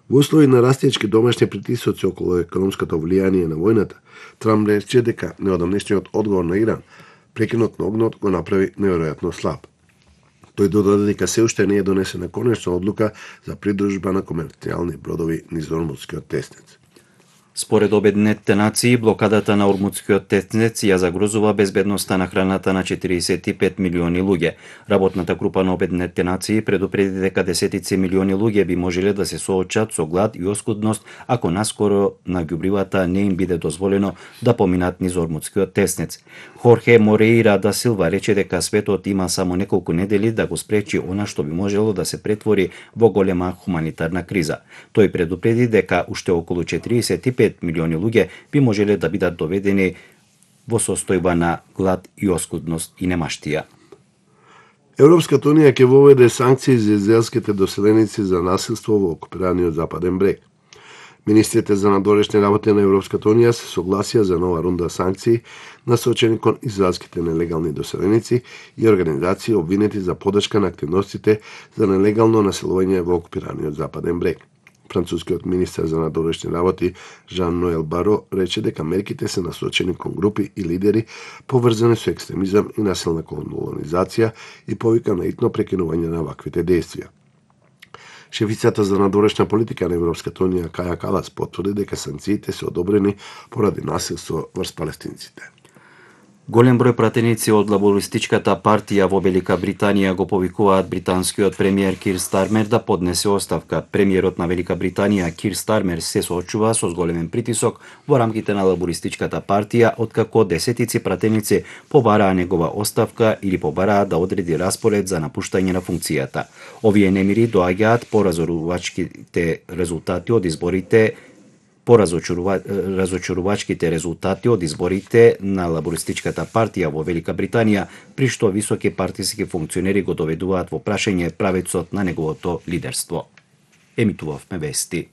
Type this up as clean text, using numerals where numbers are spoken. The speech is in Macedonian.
Во услови на растечки домашни притисоци околу економското влијание на војната, Трамп рече дека неодамнешниот одговор на Иран, прекинот на огнот, го направи неверојатно слаб. Тој додаде дека се уште не е донесена конечна одлука за придружба на комерцијални бродови низ Ормутскиот теснец. Според Обединетите нации, блокадата на Ормутскиот теснец ја загрозува безбедноста на храната на 45 милиони луѓе. Работната група на Обединетите нации предупреди дека десетици милиони луѓе би можеле да се соочат со глад и оскудност ако наскоро на ѓубривата не им биде дозволено да поминат низ Ормутскиот теснец. Хорхе Мореира да Силва рече дека светот има само неколку недели да го спречи она што би можело да се претвори во голема хуманитарна криза. Тој предупреди дека уште околу 45 милиони луѓе би можеле да бидат доведени во состојба на глад и оскудност и немаштија. Европската унија ќе воведе санкции за израелските доселеници за насилство во окупираниот Западен брег. Министрите за надворешни работи на Европската унија се согласија за нова рунда санкции насочени кон израелските нелегални доселеници и организации обвинети за подршка на активностите за нелегално населување во окупираниот Западен брег. Францускиот министер за надворешни работи Жан Ноел Баро рече дека мерките се насочени кон групи и лидери поврзани со екстремизам и насилна колонизација и повика на итно прекинување на ваквите действија. Шефицата за надворешна политика на Европската унија Каја Калас потврди дека санкциите се одобрени поради насилство врз палестинците. Голем број пратеници од лабористичката партија во Велика Британија го повикуваат британскиот премиер Кир Стармер да поднесе оставка. Премиерот на Велика Британија Кир Стармер се соочува со зголемен притисок во рамките на лабористичката партија, откако десетици пратеници побараа негова оставка или побараа да одреди распоред за напуштање на функцијата. Овие немири доаѓаат по разочарувачките резултати од изборите разочарувачките резултати од изборите на лабористичката партија во Велика Британија, при што високи партиски функционери го доведуваат во прашање правецот на неговото лидерство. Емитувавме вести.